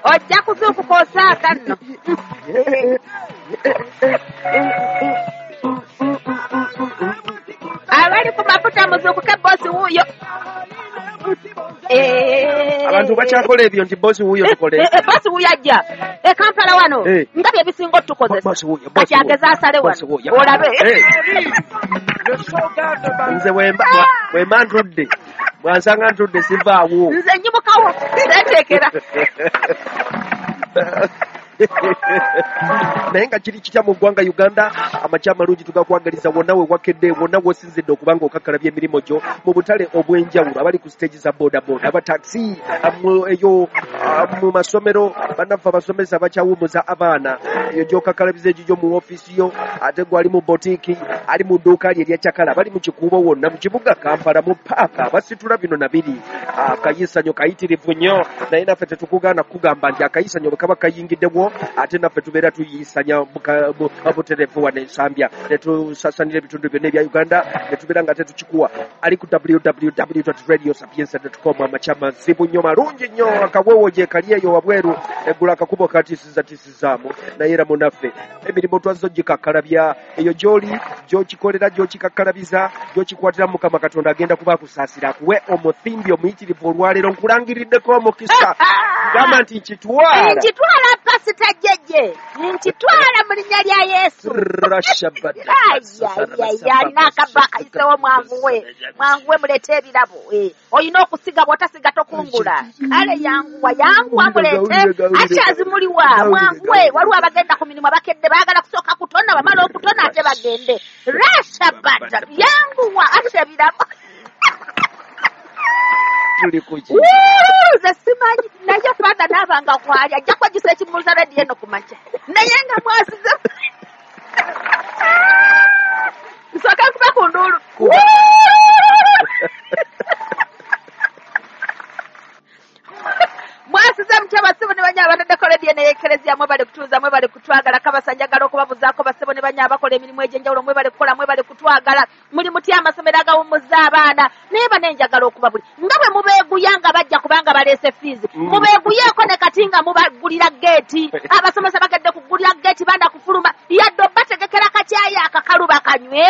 Ojja kuzuukuka osaaga nno. Abali ku mafuta muzuukuke, bosi wuuyo. Abantu bakyakola ebyo nti bosi wuuyo tukole. Bosi wuuyo ajja e Kampala wano nga bye bisinga otukozesa. Kati ageze asale wano olabe. Nze wemba ntudde, bwansanga ntudde sivaawo. Nze nyimukawo seteekera. Naye nga kiri kitya mu ggwanga Uganda? Amakya amalungi tugakwagaliza wonna we wakedde, wonna w'osinzidde okuba nga okakkalabya emirimu gyo mu butale obw'enjawulo, abali ku siteegi za bodaboda, abataxi eyo mu masomero, bannaffe abasomesa bakyawummuza abaana, eyo gy'okakkalabiza egigyo mu ofiisi yo, ate gwe ali mu botiiki, ali mu dduuka lye erya cakala, bali mu kikuubo wonna mu kibuga Kampala, mu paaka basitula bino na biri. Akayisanyo kayitirivu nnyo, naye naffe tetukugaana kukugamba nti akayisanyo bwe kaba kayingiddewo ate naffe tubeera tuyisanya butereevu wano Ensambya, ne tusasanira ebitundu byonna ebya Uganda, ne tubeera nga tetukikuwa. Ali ku www.radiosapienza.com. Amakya mazibu nnyo, malungi nnyo, akawewo gye kali eyo wabweru, eggula akakubo katiisizzatisizaamu, naye era munaffe emirimu twazzo gikakkalabya eyo gy'oli, gy'okikolera, gy'okikakkalabiza, gy'okikwatira. Mukama Katonda agenda kuba akusaasira akuwe omuthimbi omuyitirivu olwaleero. Nkulangiriddeko omukisa, gamba nti nkitwala. Nkitwala, Pasita Jjejje, nkitwala mu linnya lya Yesu. Alina akabba akayisewo, mwanguwe, mwanguwe muleete ebirabo. Olina okusiga, bw'otasiga tokungula. Kale yanguwa, yanguwa muleete akyazimuliwa, mwanguwe. Waliwo abagenda ku mirimu abakedde, baagala kusooka kutona, bamala okutona ate bagende. Rashabata, yanguwa ate ebirabo. Tuli kuki? Nze simanyi, naye Father naabanga kwali ajja kwejjusa ekimuluza rediyo eno ku makya, naye nga mwasize. Nsooka nkuba ku nduulu. Mwasize mutya basebo ne banya abataddeko rediyo neyekereziya? Mwebale kutuuza, mwebale kutwagala. Kabasa njagala okubabuzaako, basebo ne banya abakola emirimu egy'enjawulo, mwebale kukola, mwebale kutwagala. Muli mutya amasomero agawummuza abaana? Naye bane njagala okubabuli nga bwe mubeeguya nga bajja kubanga baleese fiizi, mubeeguyeeko ne kati nga mubagulira geeti. Abasomesa bagedde kugulira geeti baana kufuluma, yadde obategekera kakyayi akakalu bakanywe.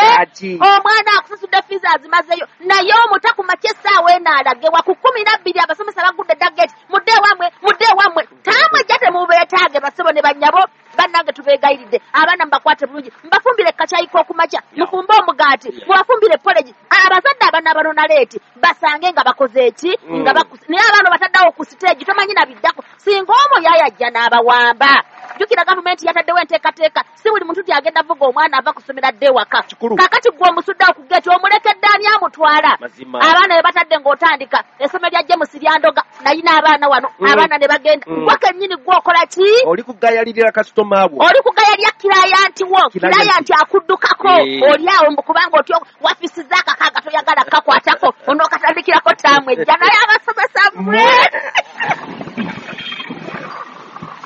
Omwana akusasudde fiizi azimazeyo, naye omuta ku makya essaawa eno alagewa ku 12, abasomesa bagudde dda geeti, mudde ewammwe, mudde ewammwe. Taamwe ejja temubeetaage. Basebo ne bannyabo bannange, tubeegayiridde, abaana mubakwate bulungi, mubafumbire kakyayi k'okumakya, mufumbe omugaati, mubafumbire porridge. Abazadde abaana banona late basange nga bakoze eki, nga bakuse. Naye abaana bataddeawo ku siteegi, tomanyi nabiddako singa omwo yayajja n'abawamba. Jjukira gavumenti yataddewo enteekateeka, si buli muntu ti agenda vuga omwana ava kusomera dde ewaka. Kakati gwe omusuddeawo ku geeti, omulekedde ani amutwala? Abaana be batadde ng'otandika essomero lya James Lyandoga, nayina abaana wano, abaana ne bagenda. Gwe kennyini gwe okola ki? Oli kugayalirira kasitoma wo, oli kugayalira client wo, client akuddukako, oli awo kubanga otyo wafisiza akakaaga toyagala kakwatako, onookatandikirako taamu ejja. Naye abasomesa mmwe!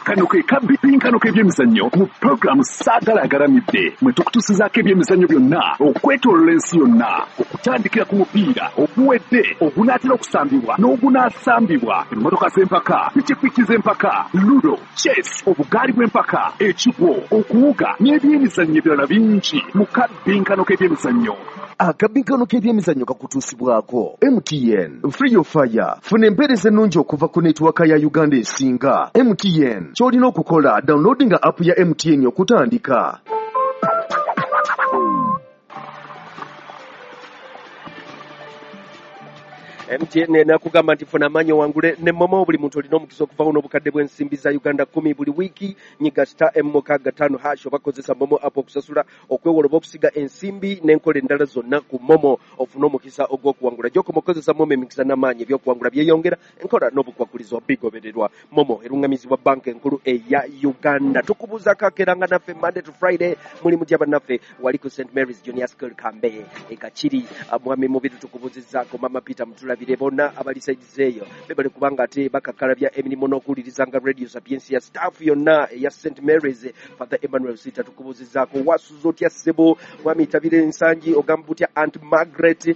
Kano ke kabbinkano k'ebyemizannyo mu puroguramu Saagala Agalamidde, mwe tukutusizaako ebyemizannyo byonna okwetoolola ensi yonna, okutandikira ku mupiira oguwedde, ogunaatera okusambibwa n'ogunaasambibwa, emmotoka z'empaka, pikipiki z'empaka, ludo, chess, obugaali bw'empaka, ekigwo, okuwuga n'ebyemizannyo ebirala bingi mu kabbinkano k'ebyemizannyo. Akabinkano k'ebyemizannyo kakutuusibwako MTN Free Your Fire. Funa empeereza ennungi okuva ku netiwaka ya Uganda esinga, MTN. Ky'olina okukola, downloadinga app ya MTN okutandika. MTN nakugamba nti funa amaanyi owangule ne MoMo. Buli muntu olina omukisa okuvawo n'obukadde bw'ensimbi za Uganda 10 buli wiiki. Nyiga *M65# oba kozesa MoMo app okusasula, okwewola oba okusiga ensimbi n'enkola endala zonna ku MoMo, ofune omukisa ogw'okuwangula. Gy'okoma okukozesa MoMo, emikisa n'amaanyi ebyokuwangula byeyongera, enkola n'obukwakulizo bigobererwa. MoMo eruŋŋamizibwa Banka Enkulu eya Uganda. Tukubuuzaako akeeranga naffe Monday to Friday. Muli mutya bannaffe wali ku St Mary's Junior School Kambe ekakiri? Mwami Mubiri tukubuuzizzaako, Mama Peter mutulabire, bonna abali saidizi eyo bebale kubanga ate bakakkalabya emirimu n'okuwulirizanga Radio Sapientia. Staff yonna eya St Mary's, Father Emmanuel Sita tukubuuzizzaako, wasuza otya ssebo? Mwami Tabire Nsangi, ogamba butya Aunt Margaret?